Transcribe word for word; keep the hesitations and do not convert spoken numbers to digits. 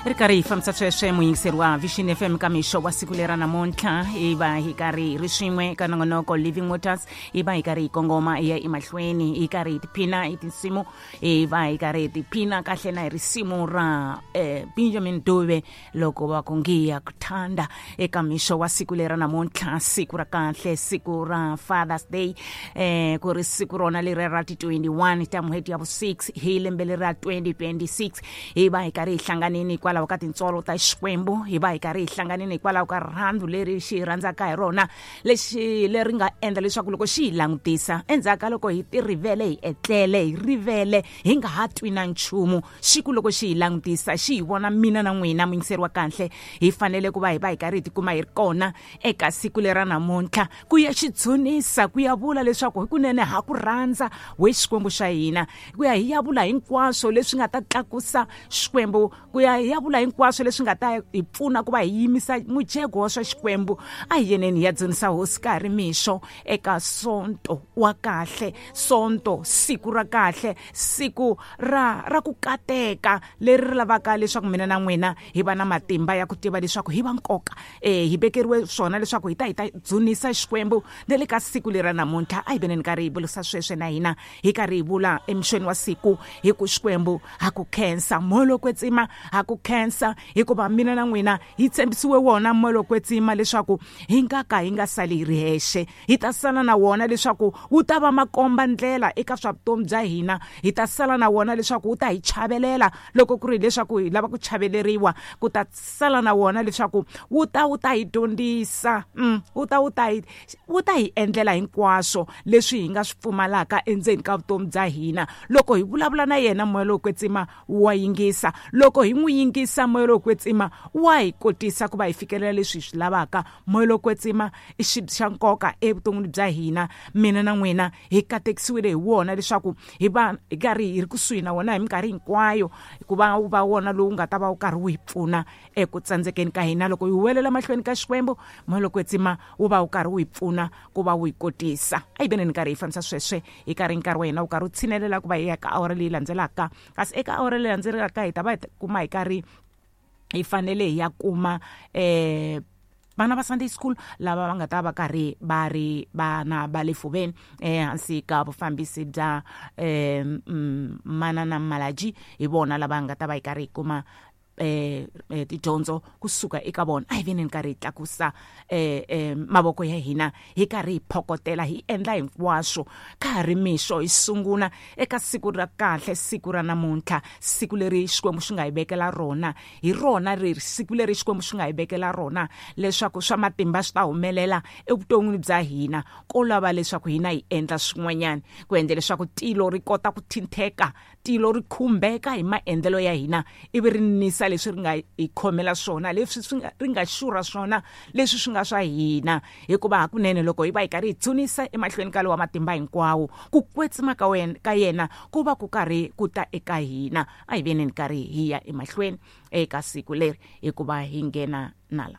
Ri karhi hi fambisa sweswe muyingiseri wa Vision F M ka mixo wa siku lera namuntlha hi va hi karhi hi ri swin'we ka nongonoko Living Waters, hi va hi karhi hi kongoma hi ya emahlweni hi karhi hi tiphina hi tinsimu, hi va hi karhi hi tiphina kahle na hi risimu ra eh, Benjamin Dube loko va ku ngiyakuthanda eka mixo wa siku lera namuntlha, siku ra kahle, siku ra Father's Day, eh, ku ri siku rona leri ra ti twenty-one ta n'hweti ya vu six hi lembe leri ra twenty twenty-six. Hi va hi karhi hi hlanganini hikwalaho ka tintswalo ta Xikwembu, hi va hi karhi hi hlanganini hikwalaho ka rirhandzu leri xi rhandzaka hi rona, lexi leri nga endla leswaku loko xi hi langutisa endzhaku ka loko hi tirivele, hi etlele, hi rivele, hi nga ha twi na nchumu, xi ku loko xi hi langutisa xi hi vona mina na n'wina muyingiseri wa kahle, hi fanele ku va hi va hi karhi hi tikuma hi ri kona eka siku lera namuntlha ku ya xi dzunisa, ku ya vula leswaku hikunene ha ku rhandza we Xikwembu xa hina, ku ya hi ya vula hinkwaswo leswi nga ta tlakusa Xikwembu, ku ya hi ya vula hinkwaswo leswi nga ta hi pfuna ku va hi yimisa mujeko wa swa Xikwembu. A hi yeneni hi ya dzunisa hosi ka ha ri mixo eka sonto wa kahle, sonto siku ra kahle, siku ra ra ku kateka leri ri lavaka leswaku mina na n'wina hi va na matimba ya ku tiva leswaku hi va nkoka, eh hi vekeriwe swona leswaku hi ta hi ta dzunisa Xikwembu na le ka siku lera namuntlha. A hi veneni karhi hi vulisa sweswe na hina hi karhi hi vula emixweni wa siku hi ku Xikwembu ha ku khensa, moya lowo kwetsima ha ku khensa, hikuva mina na n'wina hi tshembisiwe wona moya lowo kwetsima leswaku hi nga ka hi nga sali hi ri hexe, hi ta sala na wona leswaku wu ta va makomba ndlela eka swa vutomi bya hina, hi ta sala na wona leswaku wu ta hi chavelela loko ku ri leswaku hi lava ku chaveleriwa, ku ta sala na wona leswaku wu ta wu ta hi dyondzisa, mm, wu ta wu ta hi wu ta hi endlela hinkwaswo leswi hi nga swi pfumalaka endzeni ka vutomi bya hina. Loko hi vulavula na yena moya lowo kwetsima wa yingisa, loko hi n'wi yingisa moya lowo kwetsima wa hi kotisa ku va hi fikelela leswi hi swi lavaka. Moya lowo kwetsima i xibye xa nkoka evuton'wini bya hina, mina na n'wina hi katekisiwile hi wona leswaku hi va hi karhi hi ri kusuhi na wona hi minkarhi hinkwayo, ku va wu va wona lowu nga ta va wu karhi wu hi pfuna eku tsandzekeni ka hina. Loko hi huwelela mahlweni ka Xikwembu, moya lowo kwetsima wu va wu karhi wu hi pfuna ku va wu hi kotisa. A hi veneni karhi hi fambisa sweswe hi karhi nkarhi wa hina wu karhi wu tshinelela ku va hi ya ka awara leyi landzelaka, kasi eka awara leyi landzelaka hi ta va hi kuma hi karhi hi fanele hi ya kuma eh vana va Sunday school lava va nga ta va karhi va ri vana va le fuveni ehansi ka vufambisi bya eh Manana Malaji, hi vona lava nga ta va hi karhi hi kuma eh tidyondzo kusuka eka vona. A hi veneni karhi hi tlakusa eh, eh mavoko ya hina hi karhi hi phokotela, hi endla hinkwaswo ka ha ri mixo, hi sungula eka siku ra kahle, siku ra namuntlha, siku leri Xikwembu xi nga hi vekela rona, hi rona leri siku leri Xikwembu xi nga hi vekela rona leswaku swa matimba swi ta humelela evuton'wini bya hina, ko lava leswaku hina hi endla swin'wanyana ku endla leswaku tilo ri kota ku thintheka, tilo ri khumbeka hi maendlelo ya hina ivi ri nisa leswi ri nga hi khomela swona, leswi swi nga ri nga xurha swona, leswi swi nga swa hina. Hikuva hakunene loko hi va hi karhi hi dzunisa emahlweni ka lowa matimba hinkwawo, ku kwetsima ka wena ka yena ku va ku karhi ku ta eka hina. A hi veneni karhi hi ya emahlweni eka siku leri hikuva hi nghena nala.